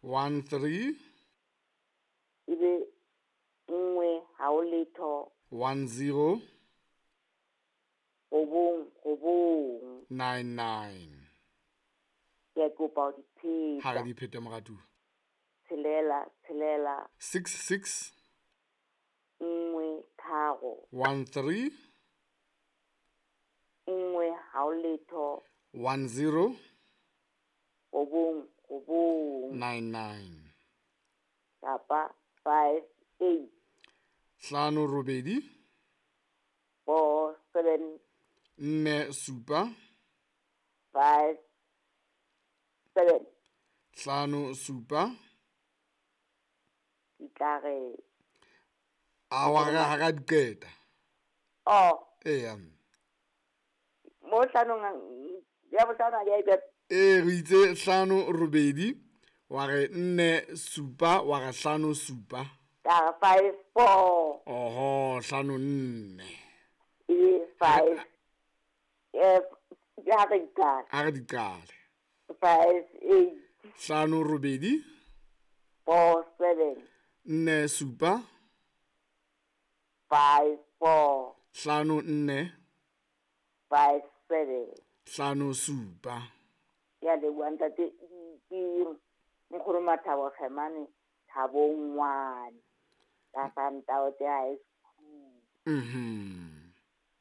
13. Ebe 1 ha o letho. 10. 9 9. 99. Ke a kopa ho di pheta. Ha re di phete moratuwa. 6 6 66. 1 3. 13. 1 ha o letho. 10. 9 9. 99. Kapa 5 8. 5 8. 4 7. 4 7. 5 7. 5 7. Di tla re. A wa re ha ra di qeta. Oh. Eya. Mo hlanong ya bohlano ha ke a e qeta. Ee, re itse 5 8 wa re 4 7 wa re 5 7. Ka re 5 4. Oho, 5 4. E 5. Ha re di qale. Ha re di qale. 5 8. 5 8. 4 7. 4 7. 5 4. 5 4. 5 7. 5 7. Ke a leboha ntate, ke nkgono Mathabo Kgemane, Thabongwane, ka Santaote High School.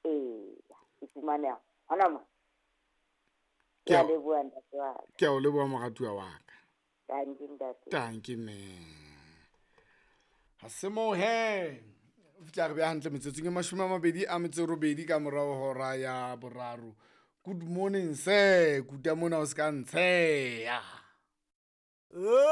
Ee, ke fumaneha hona mo. Ke a leboha ntate wa ka. Ke a o leboha moratuwa wa ka. Tanki ntate. Tanki mme. Ha se moo he. O fihla re beha hantle metsotsong e 28 ka morao hora ya 3. Good morning sir, kuta mona o se ka ntsheya.